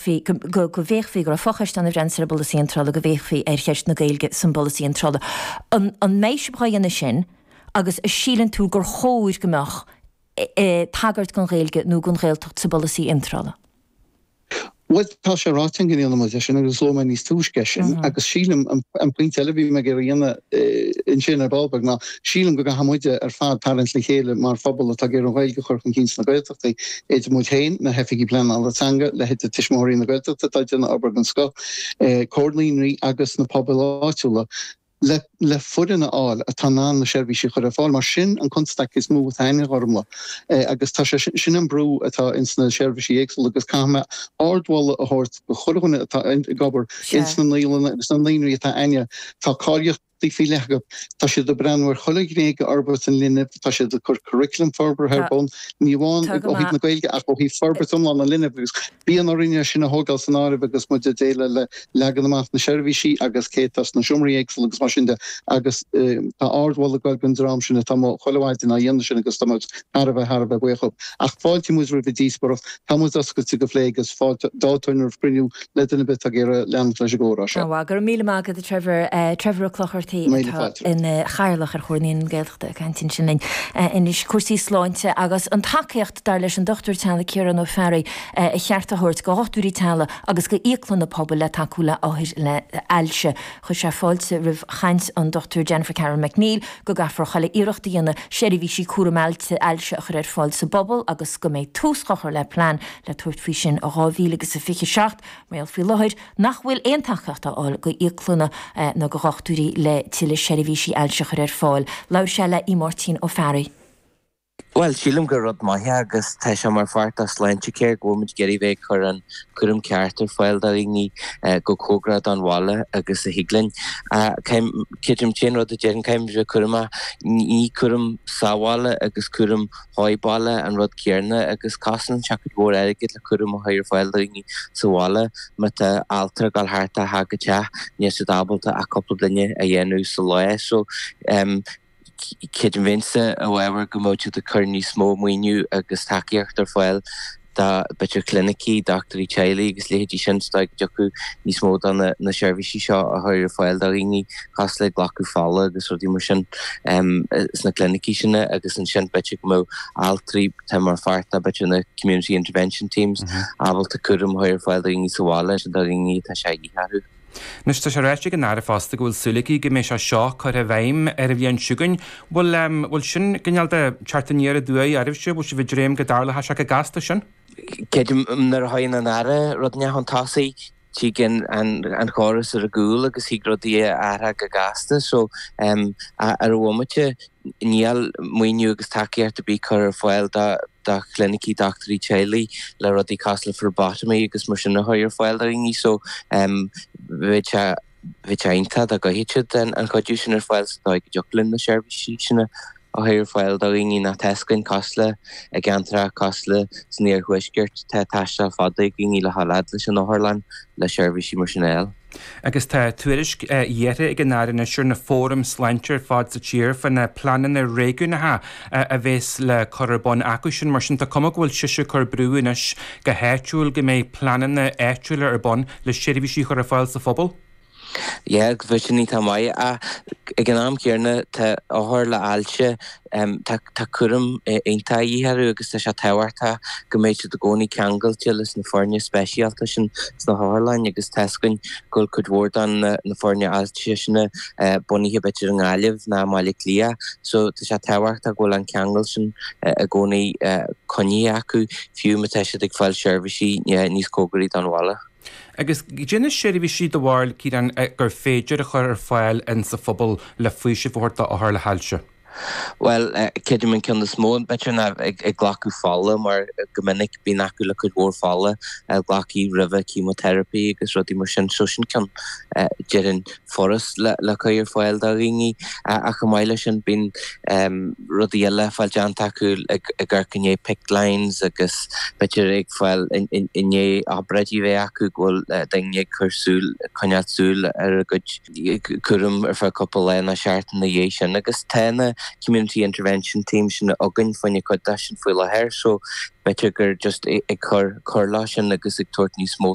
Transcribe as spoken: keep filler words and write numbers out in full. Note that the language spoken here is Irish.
go go bhféachfaí go raibh focheist ann a bhrean ar an bpolasaí iontrála go bhféachfaí ar cheist na Gaeilge san bpolasaí iontrála. An, an mbeidh sibh á dhéanamh sin agus an síleann tú gur chóir go mbeadh e, e, tagairt don Ghaeilge nó don Ghaeltacht sa bpolasaí iontrála? Well tá sé ráite go ndéanfaidh muid sin agus luaigh mé níos túisce sin mhm. agus sílim an pointe eile bhí mé ag déanamh ansin ar ball beag ná sílim go gcaithfidh muide ar fad tarraingt le chéile mar phobal atá ag iarraidh an Ghaeilge a chur chun cinn sna Gaeltachtaí idir muid féin na hoifigigh pleanála teanga le hidir Tuismitheoirí na Gaeltachta atá ag déanamh obair den scoth eh, Comhar Naíonraí agus na pobail áitiúla le le foireann a fháil atá in ann na seirbhísí a chur ar fáil mar sin an constaic is mó atá againn ormla eh, agus tá sé sin an brú atá ins na seirbhísí éagsúla agus caithfidh mé ardmholadh a thabhairt do chuile dhuine atá ag obair ins na naíolanna agus na naíonraí atá againne tá cáilíocht faoi leith acu tá siad ag breathnú ar chuile ghné d'fhorbairt an linbh tá siad ag cur curriculum forbartha ar bun ní amháin ó thaobh na Gaeilge ach ó thaobh forbairt iomlán an linbh agus bíonn orainne sin a thógáil san áireamh agus muid ag déileáil le leagan amach na seirbhísí agus cé atá sna seomraí éagsúla agus mar sin de agus eh, tá ardmholadh ag an dream sin atá chuile mhaidin á dhéanamh sin agus tá muid thar a bheith thar a bheith buíoch. Ach fáiltíonn muid roimh díospóireacht tá muid oscailte go plé agus fáilte roimh chruinniú le duine ar bith atá ag iarraidh leanacht leis an gcomhrá seo. Go raibh míle maith agat Trevor eh, Trevor Ó Clochartaigh ina chathaoirleach ar Chomhar Naíonraí na Gaeltachta ag caint ansin linn anois cúrsaí sláinte agus an tacaíocht dar leis an dochtúir teaghlaigh Ciarán Ó Fearraigh ba cheart a thabhairt do dhochtúirí teaghlaigh agus go íoclanna pobail le tacú le othair le hailse. Chuir sé fáilte roimh chaint an dochtúir Jennifer Carroll MacNeill go gcaithfear chuile iarracht a dhéanamh seirbhísí cúram ailse a chur ar fáil sa bpobal agus go mbeidh tús á chur le plean le tabhairt faoi sin i dhá mhíle agus a fiche seacht mar faoi láthair nach bhfuil aon tacaíocht á fháil go íoclanna nó go dhochtúirí le tuilleadh seirbhísí ailse a chur ar fáil. Labhair sé le Máirtín Ó Fearraigh. Well sílim gur rud maith agus tá sé mar pháirt de Sláintecare go bhfuil muid ag iarraidh bheith chur an cúram ceart ar fáil do dhaoine go cóngarach don bhaile agus a thig linn. Creidim sin rud a déan caim cúram ní cúram sa bhaile agus cúram sa bhaile an rud céanna agus cosnaíonn sé cuid mhór airgid le cúram a chur ar fáil do dhaoine sa bhaile má tá altra ag gabháil thart a go teach níl siad ábalta ach cúpla duine a dhéanamh sa lá so um, Creidim féinse a bhfuil go mbeadh siad ag cur níos mó maoiniú agus tacaíocht ar fáil do b'fhéidir clinicí, dochtúirí teaghlaigh agus leithéidí sin sta go níos mó do na, na seirbhísí seo a chur ar fáil do dhaoine cosúil le glacadh fola agus rudaí mar sin um, sna clinicí sin agus ansin b'fhéidir go mbeadh altraí tá mar pháirt b'fhéidir na community intervention teams mm -hmm. ábalta cúram a chur ar fáil do dhaoine sa bhaile sin do dhaoine tá sé dhíharú. Anois tá sé ráite ag an Aire fosta go bhfuil súil aici go mbeidh sé seo curtha i bhfeidhm ar an bhliain seo chugainn. Bhfuil bhfuil sin cineál de teacht aniar aduaidh oraibhse, bhfuil sibh ag dréim go dtarlóidh sé go gasta sin? Creidim nuair a thagann an Aire rud chun tosaigh tig an an chóras ar a gcúl agus thig rudaí athrú go gasta so um, ar an bhomaite níl maoiniú agus tacaíocht ar bith curtha ar fáil do do chlinicí dochtúirí teaghlaigh le rudaí cosúil le phlebotomy agus mar sin a chur ar fáil do dhaoine so um, bheadh sé bheadh sé iontach dá gcuirfeadh siad an an chuidiú sin ar fáil sa dóigh go dtiocfadh linn na seirbhísí sin a chur ar fáil do dhaoine nach teascann cosúil le i gceantracha cosúil le san iarthuaisceart tá taisteal fada ag daoine le halad leis an otharlann le seirbhísí mar sin eile. Agus tá tuairisc iarrtha ag an Aire anois ar na fóraim sláinte ar fad sa tír faoi na pleananna réigiúnacha a bheas le cur ar bun acu sin mar sin tá cuma go bhfuil sise ag cur brú anois go háitiúil go mbeidh pleananna áitiúla ar bun le seirbhísí chur ar fáil sa phobal. Yeah, bhí sin tá maith ach ag an am céanna tá othair le hailse tá tá cúram iontach de dhíth orthu agus tá sé tábhachtach go mbeidh siad i gcónaí ceangailte leis na foirne speisialta sin sna hotharlanna agus tá a fhios againn go bhfuil cuid mhór den na foirne ailse sin bunaithe b'fhéidir i nGaillimh ná i mBaile Átha Cliath so tá sé tábhachtach go bhfuil an ceangal sin i gcónaí coinnithe acu fiú má tá siad ag fáil seirbhísí níos cóngaraí don bhaile. Agus cad é na seirbhísí do bharúil Ciarán gur féidir a chur ar fáil in sa phobal le faoiseamh a thabhairt d'othair le hailse. Well creidim an ceann is mó b'fhéidir ná ag ag glacadh fola mar go minic bíonn acu le cuid mhór fola glacadh roimhe chemotherapy agus rudaí mar sin so sin ceann déarfainn furast le le cur ar fáil do dhaoine ach chomh maith leis sin bíonn rudaí eile fáil déanta acu ag ag amharc i ndiaidh PICC lines agus b'fhéidir ag fáil i ndiaidh obráidí bheith acu go bhfuil daoine ag cur súil coinneáil súil ar a gcuid cúram ar feadh cúpla lá nó seachtain ina dhiaidh sin agus tá na community intervention team sin againn fá choinne cuid de sin faoi láthair so b'fhéidir gur just ag cur cur leis sin agus ag tabhairt níos mó